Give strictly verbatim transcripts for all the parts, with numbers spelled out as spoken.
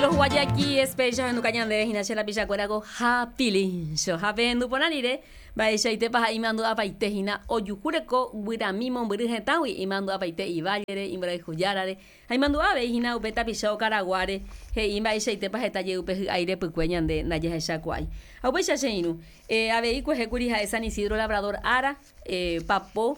Los Guayaquí Special henduka ñandéve hína che rapichakuéra ko ha Pilincho ha pehendu porã rire mba'eichaite paha imandu'apaite hína ojuhúreko guyrami mombyry hetãgui imandu'apaite ivallere imborayhujárare ha imandu'a avei hína upe tapicha okaraguáre he'i mba'eichaitépa heta jey upe hy'ái repykue ñande ndajahechakuaái ha upéicha che irũ eh, avei kuehékuri ha'e San Isidro Labrador ára eh, papo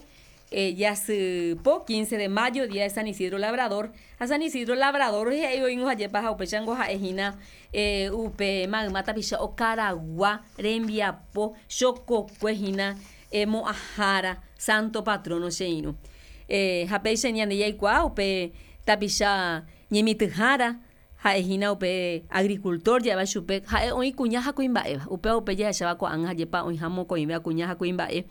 eh, jasypo quince de mayo, día de San Isidro Labrador. Ha San Isidro Labrador he'i oĩngo hajépa ha upéichango ha'ehína eh, upe mayma tapicha okaragua rembiapo chokokue hína eh, mo'ãhára santo patrono che irũ. Eh, ha péicha ñande jaikuaa upe tapicha ñemitỹhára ha'ehína upe agricultor ja'éva chupe ha'e oĩ kuña ha kuimba'éva upéva upe jahecháva ko'ág̃a hajépa oĩha mokõivéva kuña ha kuimba'e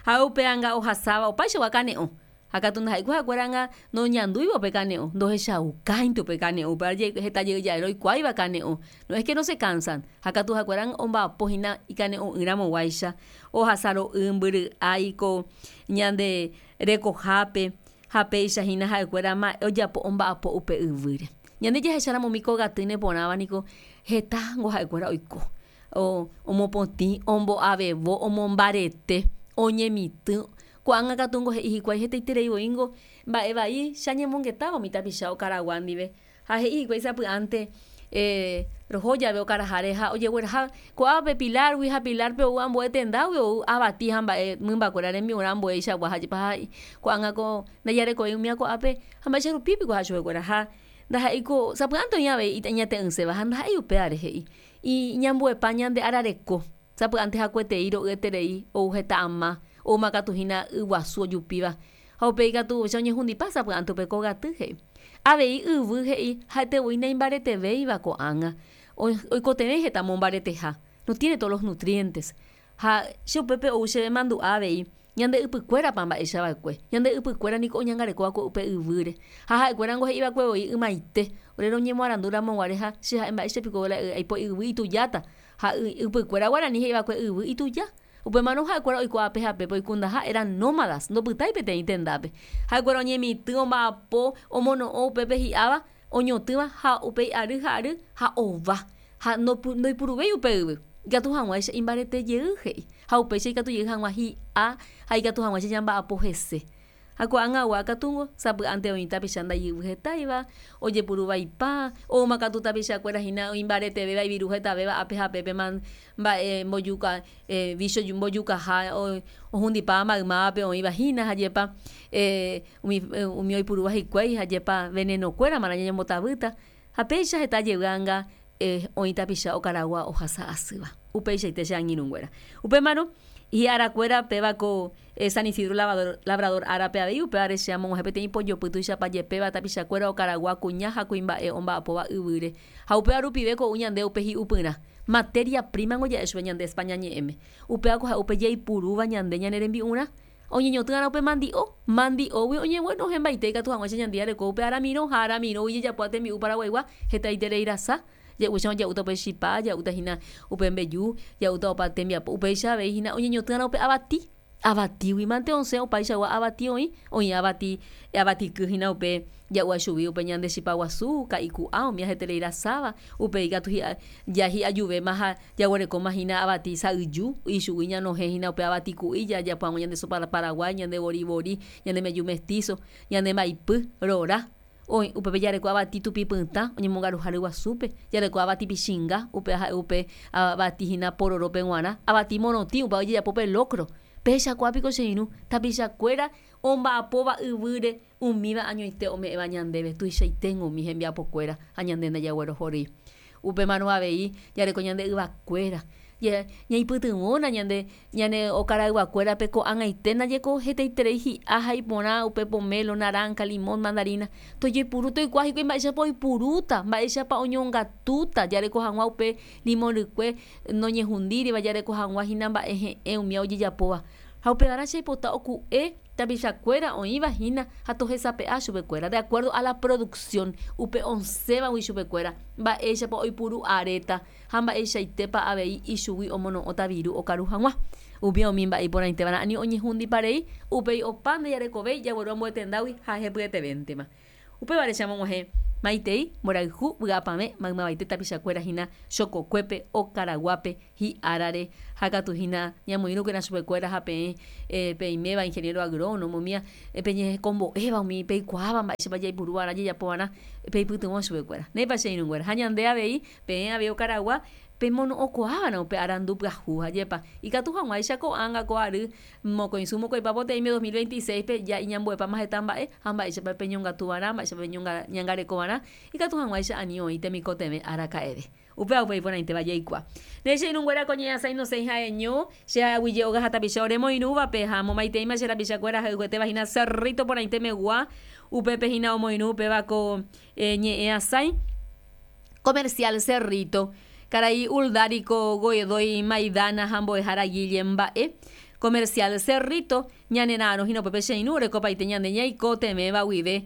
ha upe anga ohasáva opaichagua kane'õ ha katu ndaha'éi ha'ekuéra noñandúiva upe kane'õ ndohechaukáinte upe kane'õ upéva heta jey ja'e roikuaáiva kane'õ no es que no se cansan ha katu ha'ekuéra omba'apo hína ikane'õ'ỹramoguáicha ohasa ro'y mbyry'ái ko ñande rekohápe ha péicha hína ha'ekuéra ojapo omba'apo upe yvýre ñande jahecháramo umi kogaty neporãva niko hetángo ha'ekuéra oiko o omopotĩ ombo'avevo omombarete oñemitỹ ko'ág̃a katu he'i hikuái hetaiterei voíngo mba'e vai che añemongetáva umi tapicha okaragua ndive ha he'i hikuái sapy'ánte eh, roho jave okaraháre ha ojegueraha ko'ápe Pilargui ha Pilarpe ou ambue tendágui ou avati ha mba'e mymbakuéra rembi'urã ambueichagua ha ko'ág̃a ko ndajarekói umíva ko'ápe ha mba'éicha rupípiko ha chupekuéra ha ndaha'éiko sapy'ánte oĩ avei iñate'ỹséva ha ndaha'éi upévare he'i iñambuepa ñande arareko sapy'ánte hakuetei ro'yeterei ou heta ama oúma katu hína yguasu ojupíva ha upéi katu che oñehundipa sapy'ánte upe kogaty he'i avei yvy he'i ha'etevoi naimbaretevéiva ko'ág̃a oikotevẽ heta mombareteha no tiene todos los nutrientes ha che upépe ou chéve mandu'a avei ñande ypykuérapa mba'éicha va'ekue ñande ypykuéra niko oñangarekóva upe yvýre ha ha'ekuérango he'iva'ekue voi ymaite ore roñemoarandúramo guare ha che ha'e mba'éichapiko aipo yvy itujáta ha ypykuéra guarani he'iva'ekue yvy ituja upémarõ ha'ekuéra oiko ápe ha pépe oikundaha eran nómadas ndopytái peteĩ tendápe ha'ekuéra oñemitỹ omba'apo omono'õ upépe hi'áva oñotỹva ha upéi ary ha ary ha ova ha ndoipuruvéi upe yvy ikatu hag̃uáicha imbarete jey he'i ha upéicha ikatu jey hag̃ua hi'a ha ikatu hag̃uáicha ñamba'apo hese ha ko'ág̃agua katu sapy'ánte oĩ tapicha ndajyvy hetáiva ojepuruvaipa oúma katu tapichakuéra hína imbaretevéva iviru hetavéva ápe ha pépe mba'e mbojuka eh, vicho mbojukaha ohundipáva maymávape oĩva hína hajépa eh, umi, umi oipurúva hikuái hajépa venenokuéra marã ñañembotavýta ha péicha heta jey anga eh, oĩ tapicha okaragua ohasa asýva upeichaite che angirũnguéra upémarõ hi'arakuéra péva ko eh, San Isidro Labrador, Labrador árape avei upévare che amog̃uahẽ peteĩ pojopy tuichapa jepéva tapichakuéra okaragua kuña ha kuimba'e omba'apóva yvýre ha upéva rupive ko'u ñande upe hi'upyrã materia prima ngo ja'e chupe ñande España ñe'ẽme upéva ko ha'e upe jaipurúva ñande ñane rembi'urã oñeñotỹ'arã upe mandi'o mandi'ógui oñeguenohẽmbaite ikatu hag̃uáicha ñande jareko upe aramirõ ha aramirõgui jejapóva tembi'u paraguaigua hetaiterei rasa ja'úicha ja'úta upe chipa ja'úta hína upe mbeju ja'úta opa tembiapo upéicha avei hína oñeñotỹ'arã upe avati avatígui mante osẽ opaichagua avati oĩ oĩ avati avatiky hína upe ja'u chugui upe ñande chipa guasu ka'i ku'a umi heterei rasáva upéi katu hi'a ja hi'ajuvéma ha jaguerekóma hína avati sa'yju ichugui ñanohẽ hína upe avati ku'i jajapo hag̃ua ñande sopa paraguái ñande vori vori ñande mbeju mestizo ñande mbaipy rora oĩ upépe jareko avati tupi pytã oñemongaruha ryguasúpe jareko avati pichinga upe ha'e upe avati hína pororópe g̃uarã avati morotĩ upéva ojejapo pe locro péicha kuápiko che irũ tapichakuéra omba'apóva yvýre umíva añoite ome'ẽva ñandéve tuichaiténgo umi hembiapokuéra ha ñande ndajaguerohory upémarõ avei jareko ñande yvakuéra ñaipytyvõna ñande ñane okarayguakuérape ko'ág̃aite ndajeko hetaiterei hi'a ha iporã upe pomelo, naranja, limón, mandarina tojepuru toikuaa hikuái mba'éichapa oipurúta mba'éichapa oñongatúta jareko hag̃ua upe limón rykue noñehundíriva jareko hag̃ua hína mba'e he'ẽ umíva ojejapóva ha upevarã che aipota oku'e tapichakuéra oĩva hína ha tohesape'a chupekuéra de acuerdo a la producción upe osẽvagui chupekuéra mba'éichapa oipuru aréta ha mba'eichaitépa avei ichugui omono'õta viru okaru hag̃ua umi umi mba'e iporãitévarã aniojehundiparei upéi opa ndajarekovéi jagueru ambue tendágui ha hepyetevéntema upévare che amog̃uahẽ Maitei mborayhu vy'apavẽ maymavaite tapichakuéra hína chokokuépe okaraguápe hi'árare ha katu hína ñamoirũkena chupekuéra ha peẽ peiméva ingeniero agrónomo umía peñehekombo'éva umi peikuaáva mba'éichapa jaipuruva'erã jajapova'erã peipytyvõ chupekuéra. Néipa che irũnguéra ha ñande avei peẽ avei okaragua pemono'õkuaáva'erã upe arandu pyahu ajépa ikatu hag̃uáicha ko'ág̃a ko ary mokõisu mokõipa poteĩme dos mil veintiséis-pe ja iñambuepáma heta mba'e ha mba'éichapa peñongatuva'erã mba'éichapa peñangarekova'erã ikatu hag̃uáicha ani oĩ temikotevẽ araka'eve. Upéva upe iporãitéva jaikuaa. Ne che irũnguéra ko ñe'ẽasãi nosẽi ha'eño che aguyje óga ha tapicha oremoirũvape ha momaiteíma che rapichakuéra ha'yguetéva hína Cerrito porãitemegua upépe hína omoirũ upéva ko ñe'ẽasãi Comercial Cerrito karai Uldarico Godoy Maidana ha mbo'ehára Guille mba'e Comercial Cerrito ñanera'arõ hína upépe che irũ orekopaite ñande ñaikotevẽva guive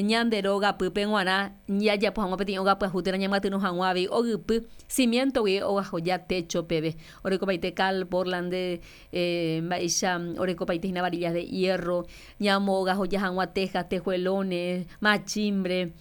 ñande rógapýpe g̃uarã jajapo hag̃ua peteĩ óga pyahu térã ñamyatyrõ hag̃ua avei ogypy cimiento guive ogahoja techo peve orekopaite cal Portland mba'éicha orekopaite hína varillas de hierro ñamogahoja hag̃ua tejas, tejuelones, machimbre,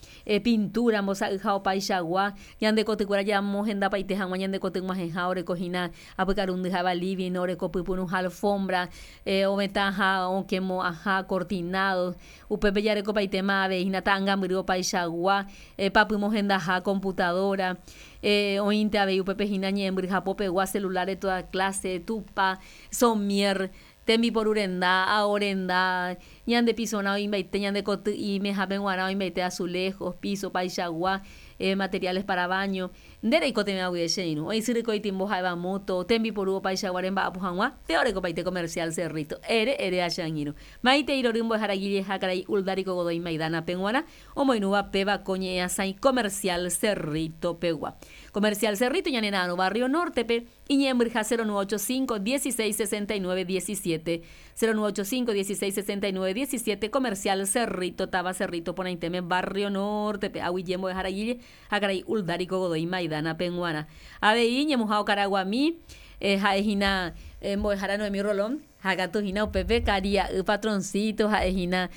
pintura mbosa'yha opaichagua ñande kotykuéra jamohendapaite hag̃ua ñande koty g̃uahẽha oreko hína apykarundy ha'éva living oreko pypyrũha alfombra ovetãha okẽmo'ãha cortinado upépe jarekopaitéma avei hína ta'ãngambyry opaichagua papymohendaha computadora oĩnte avei upépe hína ñe'ẽmbyryhapopegua celular de toda clase tupa somier tembiporurenda aorenda ñande pisorã oĩmbaite ñande koty'íme hápe g̃uarã oĩmbaite azulejos piso opaichagua materiales para baño nde reikotevẽva guive che irũ oĩ syryko itimbo ha'éva moto tembiporu opaichagua remba'apo hag̃ua pe orekopaite Comercial Cerrito ere ere ha che angirũ maitei rory mbo'ehára Guille ha karai Uldarico Godoy Maidana peg̃uarã omoirũva péva ko ñe'ẽasãi Comercial Cerrito pegua. Comercial Cerrito ñanera'arõ Barrio Norte-pe iñe'ẽmbyryha cero nueve ocho cinco dieciséis sesenta y nueve diecisiete cero nueve ocho cinco dieciséis sesenta y nueve diecisiete Comercial Cerrito táva Cerrito porãitéme Barrio Norte-pe aguyje mbo'ehára Guille ha karai Uldarico Godoy Maidana peg̃uarã. Avei ñemuha okaraguami ha'ehína mbo'ehára Noemí Rolón ha katu hína upépe karia'y patroncito ha'ehína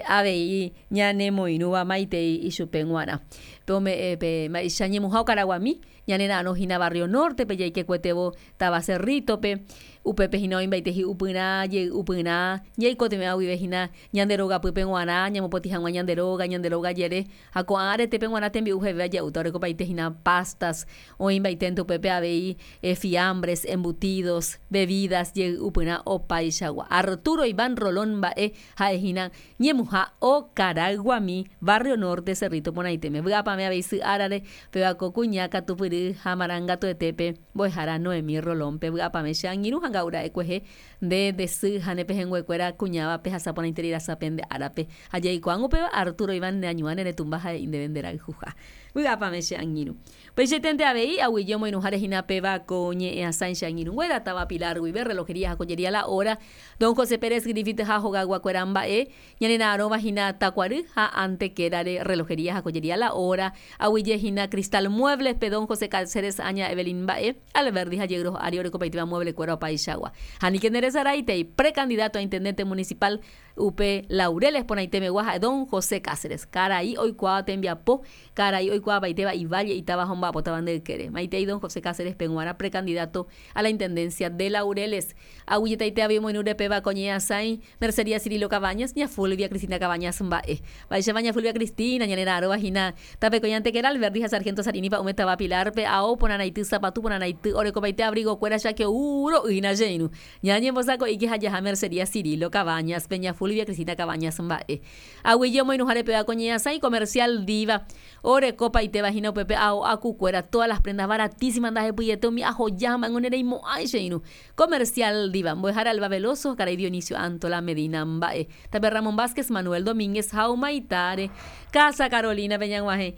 avei ñanemoirũva maitei ichupe g̃uarã. Pe ome'ẽ pe mba'éicha ñemuha okaraguami ñanera'arõ hína Barrio Norte-pe jaikekuetévo táva Cerrito-pe upépe hína oĩmbaite hi'upyrã jey'upyrã jaikotevẽva guive hína ñande rogapýpe g̃uarã ñamopotĩ hag̃ua ñande róga ñande róga jere ha ko'ã aretépe g̃uarã tembi'u hevéva ja'úta orekopaite hína pastas oĩmbaiténte upépe avei fiambres, embutidos, bebidas jey'upyrã opaichagua. Arturo Iván Rolón mba'e ha'ehína ñemuha okarayguami Barrio Norte Cerrito porãitéme. Vy'apavẽ avei sy árare péva ko kuña katupyry ha marangatuetépe mbo'ehára Noemí Rolón-pe vy'apavẽ che angirũ ha nga'ura'ekuehe nde nde sy ha ne pehẽnguekuéra kuñáva pehasa porãiterei rasape nde árape ha jaikuaág̃u upéva Arturo Iván neañuã ne retumba ha'e'i ndéve nderayhuha. Vy'apavẽ che angirũ. Upeichaitente avei aguyje omoirũháre hína péva ko ñe'ẽasãi che angirũnguéra táva Pilar guive relojería ha joyería La Hora don José Pérez Griffith ha hogayguakuéra mba'e ñanera'arõva hína Takuary ha Antequerare relojería ha joyería La Hora aguyje hína Cristal Muebles-pe don José Cáceres aña Evelyn mba'e Alberdi ha Yegros ári orekopaitéva mueble-kuéra opaichagua. Ha nike nderesaraitei precandidato a intendente municipal upe Laureles porãitemegua ha'e don José Cáceres karai oikuaáva tembiapo karai oikuaavaitéva ivalle itáva ha omba'apótava nde ykére. Maitei don José Cáceres peg̃uarã precandidato a la intendencia de Laureles. Aguyjetaite avei omoirũre péva ko ñe'ẽasãi Mercería Cirilo Cabañas, ña Fulvia Cristina Cabañas mba'e. Mba'éichapa ña Fulvia Cristina ñanera'arõva hína tapekõi Antequera Alberdi ha Sargento Sarinipa ume táva Pilar-pe ao porãraity sapatu porãraity orekopaite abrigo-kuéra chake'u ro'y hína che irũ. Ñañembosako'íke ha jaha Mercería Cirilo Cabañas pe ña Fulvia Cristina Cabañas mba'e. Aguyje omoirũháre péva ko ñe'ẽasãi Comercial Diva orekopaitéva hína upépe ao akukuéra todas las prendas baratísimas ndahepyiete umi ahoja ha mba'éngo nereimo'ãi che irũ. Comercial Diva mbo'ehára Alba Veloso karai Dionisio Antola Medina mba'e. Tape Ramón Vázquez Manuel Domínguez ha Humaitare Casa Carolina pe ñag̃uahẽ.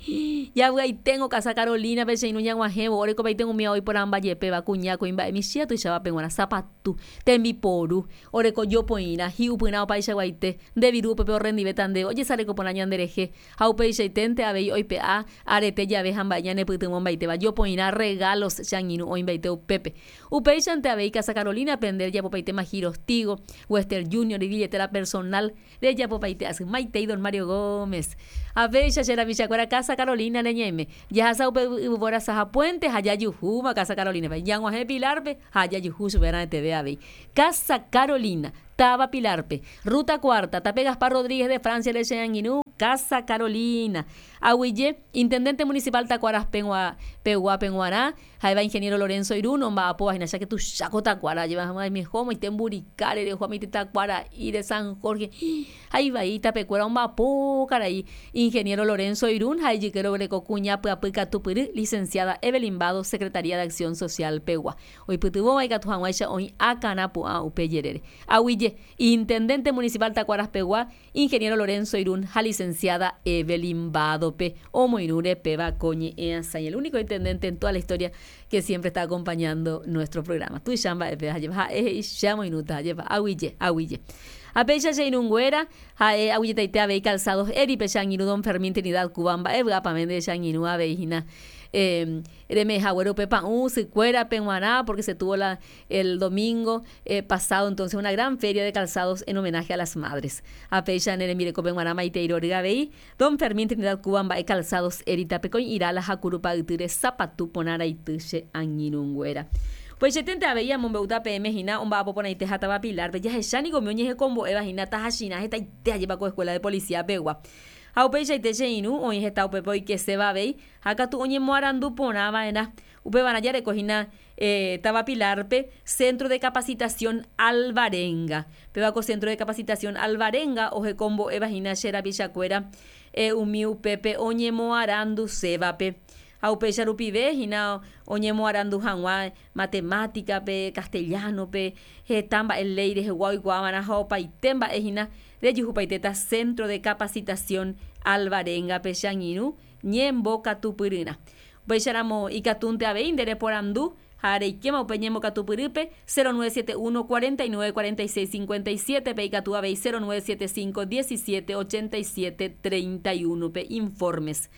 Javy'aiténgo Casa Carolina pe che irũ ñag̃uahẽvo orekopaite umi ao iporãmba jepéva kuña kuimba'e michĩa tuicháva peg̃uarã sapatu tembiporu oreko jopoirã hi'upyrã opaichaguaite nde viru upépe orrendivéta ndéve ojesareko porã ñanderehe ha upeichaiténte avei oipe'a arete jave ha mba'e ñanepytyvõmbaitéva jopoirã regalos che angirũ oĩmbaite upépe. Upéichante avei Casa Carolina pe nde rejapopaitéma giros Tigo, Western Junior y billetera personal rejapopaite asy. Maitei don Mario Gómez. Apéicha che rapichakuéra Casa Carolina reñeime. Jahasa upe yvypóra saha puente ha jajuhúma Casa Carolina-pe. Jag̃uahẽ Pilar-pe ha jajuhu chupe raẽteve avei. Casa Carolina, táva Pilar-pe. Ruta Cuarta, tape Gaspar Rodríguez de Francia re che angirũ, Casa Carolina. Aguyje, Intendente Municipal Takuaras pegua peguápe g̃uarã, ha'éva Ingeniero Lorenzo Irún omba'apóva hína cháke tuicha ko takuára ajéva hag̃ua omoite Mburikare reho omoite Takuara'i San Jorge ha ivai tapekuéra omba'apo karai Ingeniero Lorenzo Irún ha ijykére oguereko kuña pyapy katupyry Licenciada Evelyn Bado Secretaría de Acción Social pegua oipytyvõva ikatu hag̃uáicha oĩ akãrapu'ã upe jerére. Aguyje, Intendente Municipal Takuaras pegua Ingeniero Lorenzo Irún ha Licenciada Evelyn Bado-pe omoirũre péva ko ñe'ẽasãi, el único intendente en toda la historia que siempre está acompañando nuestro programa. Tuicha mba'épe ajépa ha'e he'i che amoirũta ajépa aguyje, aguyje. Ha péicha che irũnguéra ha'e aguyjetaite avei calzados Eripe che angirũ don Fermín Trinidad Cuba mba'e vy'apavẽ nde che angirũ avei hína eh, reme'ẽhaguére upe pa'ũ sykuérape g̃uarã porque se tuvo la, el domingo eh, pasado entonces una gran feria de calzados en homenaje a las madres. Ha péicha ne rembirekópe g̃uarã maitei rory avei don Fermín Trinidad Cuba mba'e calzados Erita pekõi Irala ha Kurupa ytýre sapatu porã raity che angirũnguéra. Upeichaitente avei amombe'úta peẽme hína omba'apo porãite ha táva Pilar-pe jahechánika umi oñehekombo'éva hína tahachirã hetaite ajépa ko escuela de policía pegua. Ha upeichaite che irũ oĩ heta upépe oikeséva avei ha katu oñemoarandu porã va'erã. Upevarã jareko hína eh, táva Pilar-pe Centro de Capacitación Alvarenga. Péva ko Centro de Capacitación Alvarenga ohekombo'éva hína che rapichakuéra eh, umi upépe oñemoarandusévape. Ha upéicha rupive hína oñemoarandu hag̃ua matemática-pe, castellano-pe, heta mba'e léi rehegua oikuaava'erã ha opaite mba'e hína rejuhupaitéta Centro de Capacitación Alvarenga-pe che angirũ ñembokatupyryrã. Upéicharamo ikatúnte avei nde reporandu ha reikéma upe ñembokatupyrýpe cero nueve siete uno cuarenta y nueve cuarenta y seis cincuenta y siete pe ikatu avei cero nueve siete cinco diecisiete ochenta y siete treinta y uno pe informes.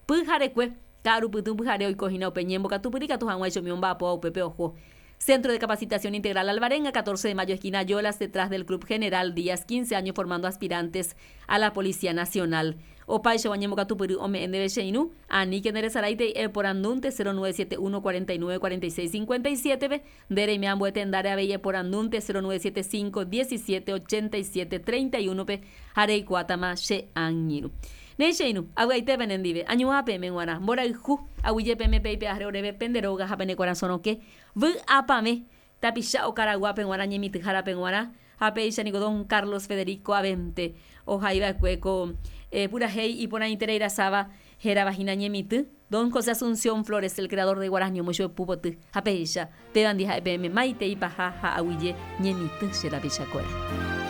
Pyharekue ka'arupytũ pyhare oiko hína upe ñembokatupyry ikatu hag̃uáicha umi omba'apóva upépe oho. Centro de Capacitación Integral Alvarenga, catorce de mayo, esquina Yolas, detrás del Club General Díaz, quince años formando aspirantes a la Policía Nacional. Opáichagua ñembokatupyry ome'ẽ ndéve che irũ, aníke nderesaraitei eporandúnte cero nueve siete uno cuarenta y nueve cuarenta y seis cincuenta y siete-pe, nde reime ambue tendáre avei eporandúnte cero nueve siete cinco diecisiete ochenta y siete treinta y uno-pe ha reikuaátama che angirũ. Néi che irũ, avy'aite penendive, añuã peẽme g̃uarã, mborayhu, aguyje peẽme peipe'áre oréve pende róga ha pene korasõ rokẽ, vy'apavẽ, tapicha okaraguápe g̃uarã ñemitỹhárape g̃uarã, ha péicha niko don Carlos Federico Abente ohaiva'ekue ko, eh, purahéi iporãiterei rasáva hérava hína ñemitỹ, don José Asunción Flores, el creador de Guarani, omoichupe pupoty, ha péicha, péva ndi ha'e peẽme maitei paha ha aguyje ñemitỹ che rapichakuéra.